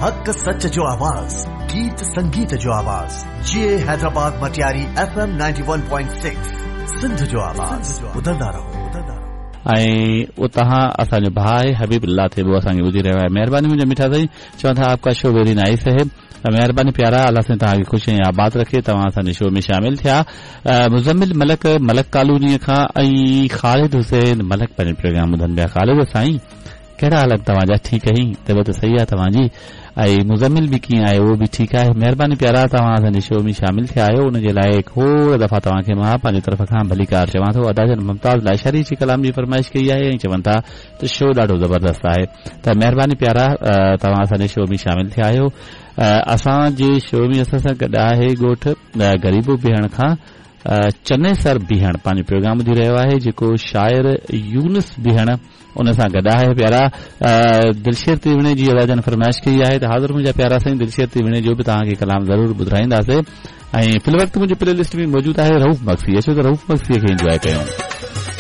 حق سچ جو آواز، گيت سنگيت جو آواز، جيئي حيدرآباد مٽياري ايف ايم 91.6 سنڌ جو آواز، ٻڌندا رهو. ۽ اتان اسان جو ڀاء آهي حبيب الله ٿيٻو اسان کي ٻڌي رهيو آهي مهرباني منهنجا مٺا سائين چون ٿا آپ ڪا شو ويري نائيس هي مهرباني پيارا الله سائين توهان کي خوش ۽ آباد رکي توهان اسان جي شو ۾ شامل ٿيا مزمل ملڪ ملڪ ڪالوني کان ۽ خالد حسين ملڪ پنهنجو پروگرام ٻڌن پيا خالد سائين ڪهڙا حال آهن توهان جا ٺيڪ آهين طبيعت صحيح آهي توهان جي ۽ مزمل به ڪيئن آهي اهو به ٺيڪ آهي مهرباني پيارا توهان اسان جي شو ۾ شامل ٿيا آهيو ان جي لاء کوڙ دفعا توهان کي مان پنهنجي طرف کان ڀليڪار چوان ٿو ادا جن ممتاز لاشاري جي ڪلام جي فرمائش ڪئي آهي ۽ چون ٿا ته شو ڏاڍو زبردست آهي ته مهرباني پيارا توهان اسان جي شو ۾ شامل ٿيا آهيو اسان جي شو ۾ اسان سان گڏ آهي ڳوٺ غريبو بيهڻ کان چنيسر بيهڻ پنهنجو پروگرام ٻڌي رهيو آهي جيڪو شاعر يونس بيهڻ ان سان گڏ آهي پيارا دلشير تيوڻي جي ادا جن فرمائش ڪئي آهي ته حاضر منهنجا پيارا سائين دلشير تيوڻي جو به توهان کي ڪلام ضرور ٻڌرائينداسي ۽ في الوقت منهنجي پلي لسٽ ۾ موجود آهي رئوف مگسي اچو ته رئوف مگسي کي انجواء ڪيون.